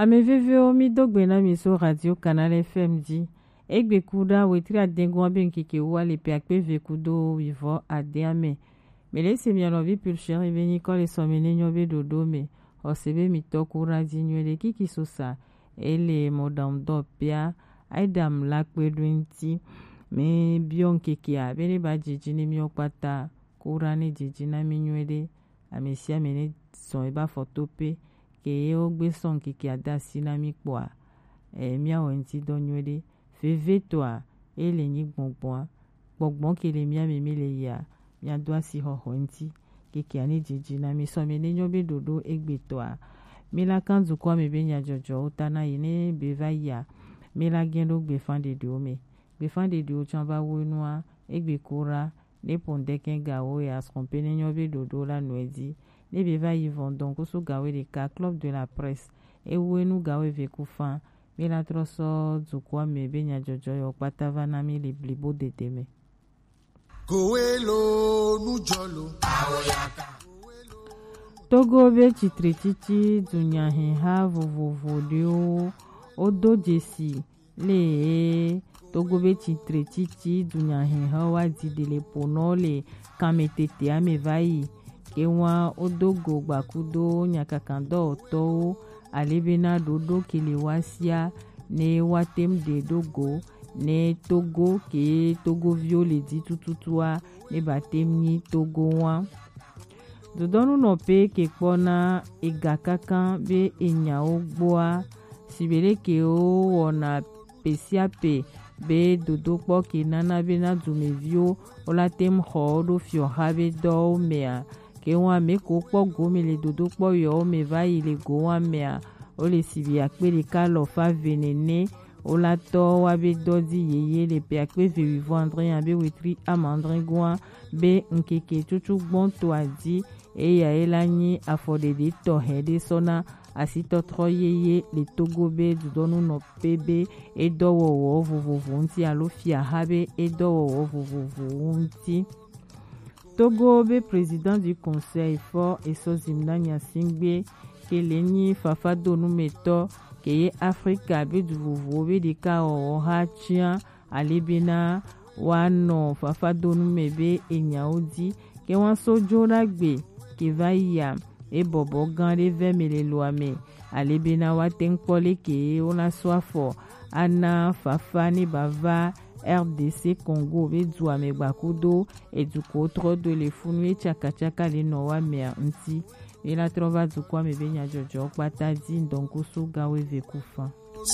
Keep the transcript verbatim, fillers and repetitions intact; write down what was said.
Ame veviwo, mi do gbe na mi so Radio Canal F M ji. Egbe kuɖa wetri adengun be ŋkeke wa le pe akpe ve kudo wivɔ ade ame. Mi le se mia nɔvi Pulchere be nyikɔ le sɔme ne nyɔ be ɖoɖo me. Xɔse be mi tɔ kuɖa ji nyuie ɖe kiki so sa. Ele mɔɖaŋudɔ pea, Adam la kpe ɖo ŋti. Mi biɔ ŋkekea be ne ba jiji ne miɔ kpata. Kuɖa ne jiji na mi nyuie ɖe. Ame sia ame ne zɔn ebe afɔ to pe, ke ye wo gbe sɔ ŋkeke ada asi na mi kpɔa, e, mia wɔ ŋti dɔ nyuie ɖe. Vevetɔa, e le nyi gbɔngbɔn, gbɔngbɔn ke le mia me mi le yia, mia do asi xɔxɔ ŋti. Keke ani dzidzi na mi sɔ mi ne nyɔ be ɖoɖo egbetɔa, mi la kan dukɔ me be nyadzɔdzɔwo ta na yi ne be va yia, mi la gɛn ɖo gbefan ɖeɖewo me. Gbefan ɖeɖewo tsã va wo nua, egbe ko ɖa, ne pɔndɛkɛ gawo ya srɔ̃ pe ne nyɔ be ɖoɖo la nɔe dzi. Ne be va yi vɔn dɔn kusu gawo ɖeka Club de la Presse. Ewo enu gawo eve ku fan. Mi la trɔ sɔ dukɔa me be nyadzɔdzɔ yɔ kpata va na mi le blibo dede me. Kowelo nujɔlo. Togo be tsitretsitsi dunyaheha vovovo ɖewo wodo dzesi le Togo be tsitretsitsi dunyaheha wa di ɖe le ponɔ le kanmetete ame va yi. Ke wa wodo go gbakudo nyakakandɔwɔtɔwo ale bena ɖoɖo ke le wa sia ne wa tem ɖe ɖo go ne Togo ke Togoviwo le di tututua ne ba tem nyi Togo wa. Dodɔnu nɔ pe ke kpɔ na ega kankan be enyawo gboa, sibe ɖe ke wo wɔna pe sia pe be dodokpɔ ke nana bena dumeviwo wo la tem xɔ wo ɖo fiɔxa be dɔwo mea, ke wa me ko kpɔ gome le dodokpɔ yɔwo me va yi le go wa mea, wo le sibi akpe ɖeka alɔfa ve nene. Wo la tɔ wa be dɔ di yeye le pe akpe ve wivɔ andre ya be wetri ama andre goa be ŋkeke tutu gbɔn to adi. Eya ye la nyi afɔɖeɖe tɔxɛ ɖe sɔ na asitɔtrɔ yeye le Togo be dudɔnu nɔ pe be edɔwɔwɔ vovovo ŋti alo fiaha be edɔwɔwɔ vovovowo ŋti. Togo be président du conseil fɔ esɔ zim na nyasingbe ke le nyi fafadonumetɔ ke ye Afrika be du vovowo be ɖeka wɔwɔ ha tia ale bena wa nɔ fafadonu me be enyawo di ke wa so jo ɖagbe ke va yia ebɔbɔ gã ɖe vɛ me le loa me ale bena wa te ŋkpɔ leke wo na so afɔ ana fafa ne ba va R D C Congo be dua me gbakudo eduko trɔ do le funu ye tsakatsaka le nɔ wa mea ŋti. Ye la trɔ va dukɔa me be nyadzɔdzɔ kpata di ŋdɔnkusu gawo eve ku fan.